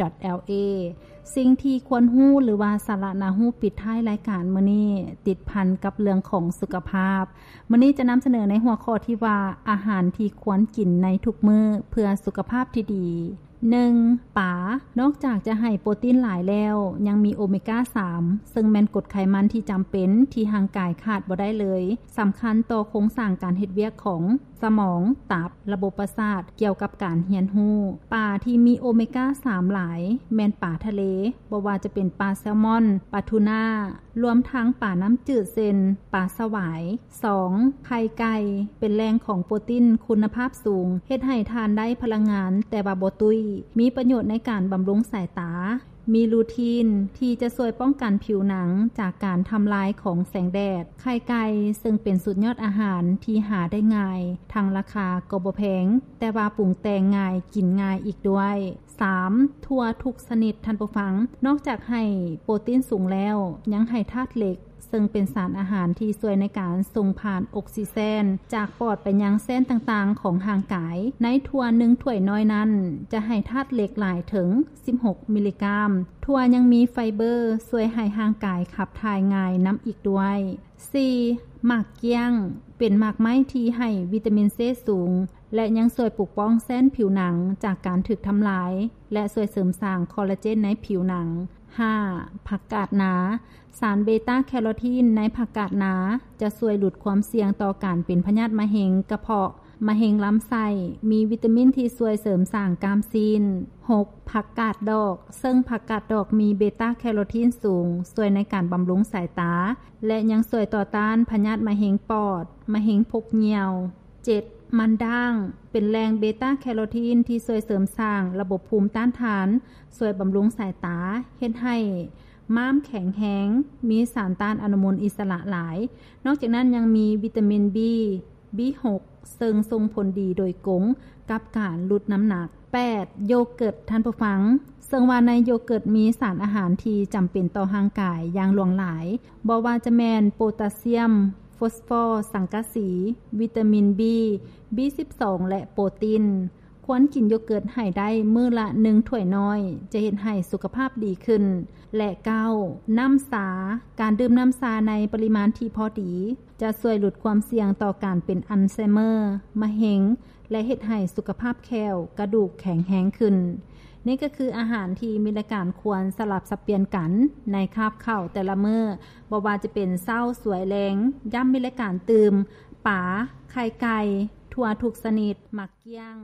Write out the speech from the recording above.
ດອດແອລເອ ສິ່ງທີ່ຄວນຮູ້ ຫຼືວ່າສາລະໜ້າຮູ້ ປິດທ້າຍລາຍການມື້ນີ້ ຕິດພັນກັບເລື່ອງຂອງສຸຂະພາບ. ມື້ນີ້ຈະນຳສະເໜີໃນຫົວຂໍ້ທີ່ວ່າ ອາຫານທີ່ຄວນກິນໃນທຸກມື້ເພື່ອສຸຂະພາບທີ່ດີ. ໜຶ່ງ ປາ. ນອກຈາກຈະໃຫ້ໂປຣຕີນຫຼາຍແລ້ວ ຍັງມີໂອເມກາສາມ ເຊິ່ງແມ່ນກົດໄຂມັນທີ່ຈຳເປັນທີ່ຮ່າງກາຍຂາດບໍ່ໄດ້ເລີຍ, ສຳຄັນຕໍ່ໂຄງສ້າງການເຮັດວຽກຂອງສະໝອງ, ຕັບ, ລະບົບປະສາດ, ກ່ຽວກັບການຮຽນຮູ້. ປາທີ່ມີໂອເມກາສາມຫຼາຍ ແມ່ນປາທະເລ, ບໍ່ວ່າຈະເປັນປາແຊລມອນ, ປາທູນາ, ລວມທັງປານ້ຳຈືດເຊັ່ນ ປາສະຫວາຍ. ສອງ ໄຂ່ໄກ່ ເປັນແຫຼ່ງຂອງໂປຣຕີນຄຸນນະພາບສູງ, ເຮັດໃຫ້ທ່ານໄດ້ພະລັງງານແຕ່ວ່າບໍ່ຕຸ້ຍ, ມີປະໂຫຍດໃນການບຳລຸງສາຍຕາ, ມີລູທີນທີ່ຈະຊ່ວຍປ້ອງກັນຜິວໜັງຈາກການທຳລາຍຂອງແສງແດດ. ໄຂ່ໄກ່ເຊິ່ງເປັນສຸດຍອດອາຫານທີ່ຫາໄດ້ງ່າຍ, ທັງລາຄາກໍບໍ່ແພງ, ແຕ່ວ່າປຸງແຕ່ງງ່າຍ, ກິນງ່າຍອີກດ້ວຍ. ສາມ ຖົ່ວທຸກຊະນິດ, ທ່ານຜູ້ຟັງ, ນອກຈາກໃຫ້ໂປຣຕີນສູງແລ້ວ ຍັງໃຫ້ທາດເຫຼັກ ເຊິ່ງເປັນສານອາຫານທີ່ຊ່ວຍໃນການສົ່ງຜ່ານອົກຊີເຈນຈາກປອດໄປຍັງເສັ້ນຕ່າງໆຂອງຮ່າງກາຍ. ໃນຖົ່ວໜຶ່ງຖ້ວຍນ້ອຍນັ້ນ ຈະໃຫ້ທາດເຫຼັກຫຼາຍເຖິງສິບຫົກມິລລີກຣາມ. ຖົ່ວຍັງມີໄຟເບີຊ່ວຍໃຫ້ຮ່າງກາຍຂັບຖ່າຍງ່າຍນຳອີກດ້ວຍ. ສີ່ ໝາກກ້ຽງ ເປັນໝາກໄມ້ທີ່ໃຫ້ວິຕາມິນເຊສູງ ແລະ ຍັງຊ່ວຍປົກປ້ອງເສັ້ນຜິວໜັງຈາກການຖືກທຳລາຍ ແລະ ຊ່ວຍເສີມສ້າງຄໍລາເຈນໃນຜິວໜັງ. ຫ້າ ຜັກກາດນາ. ສານເບຕາແຄໂຣທີນໃນຜັກກາດນາຈະຊ່ວຍຫຼຸດຄວາມສ່ຽງຕໍ່ການເປັນພະຍາດມະເຮັງກະເພາະ, ມະເຮັງລຳໄສ້, ມີວິຕາມິນທີ່ຊ່ວຍເສີມສ້າງກ້າມຊີ້ນ. ຫົກ ຜັກກາດດອກ, ເຊິ່ງຜັກກາດດອກມີເບຕາແຄໂຣທີນສູງ, ຊ່ວຍໃນການບຳລຸງສາຍຕາ ແລະ ຍັງຊ່ວຍຕໍ່ຕ້ານພະຍາດມະເຮັງປອດ, ມະເຮັງພົກຍ່ຽວ. ເຈັດ ມັນດ້າງ ເປັນແຫຼ່ງເບຕາແຄໂຣທີນທີ່ຊ່ວຍເສີມສ້າງລະບົບພູມຕ້ານທານ, ຊ່ວຍບຳລຸງສາຍຕາ, ເຮັດໃຫ້ມ້າມແຂງແຮງ, ມີສານຕ້ານອະນຸມູນອິດສະຫຼະຫຼາຍ. ນອກຈາກນັ້ນຍັງມີວິຕາມິນ B ບີຫົກ ເຊິ່ງສົ່ງຜົນດີໂດຍກົງກັບການຫຼຸດນ້ຳໜັກ. ແປດ ໂຢເກີດ ທ່ານຜູ້ຟັງ, ເຊິ່ງວ່າໃນໂຢເກີດມີສານອາຫານທີ່ຈຳເປັນຕໍ່ຮ່າງກາຍຢ່າງຫຼວງຫຼາຍ, ບໍ່ວ່າຈະແມ່ນໂປຕາຊຽມ, ຟອສຟໍ, ສັງກະສີ, ວິຕາມິນ B, B ສິບສອງ ແລະ ໂປຣຕີນ. ຄວນກິນໂຢເກີດໃຫ້ໄດ້ມື້ລະໜຶ່ງຖ້ວຍນ້ອຍ ຈະເຮັດໃຫ້ສຸຂະພາບດີຂຶ້ນ. ແລະ ເກົ້າ ນ້ຳຊາ. ການດື່ມນ້ຳຊາໃນປະລິມານທີ່ພໍດີ ຈະຊ່ວຍຫຼຸດຄວາມສ່ຽງຕໍ່ການເປັນອັນໄຊເມີ, ມະເຮັງ ແລະ ເຮັດໃຫ້ສຸຂະພາບແຂ້ວ, ກະດູກແຂງແຮງຂຶ້ນ. ນີ້ກໍຄືອາຫານທີ່ມີລາຍການຄວນສະຫຼັບສັບປ່ຽນກັນໃນຄາບເຂົ້າແຕ່ລະມື້, ບໍ່ວ່າຈະເປັນເຊົ້າ, ສວຍ, ແລງ, ຢ້ຳມີລາຍການຕື່ມ, ປາ, ໄຂ່ໄກ່, ຖົ່ວທຸກຊະນິດ, ໝາກກ້ຽງ.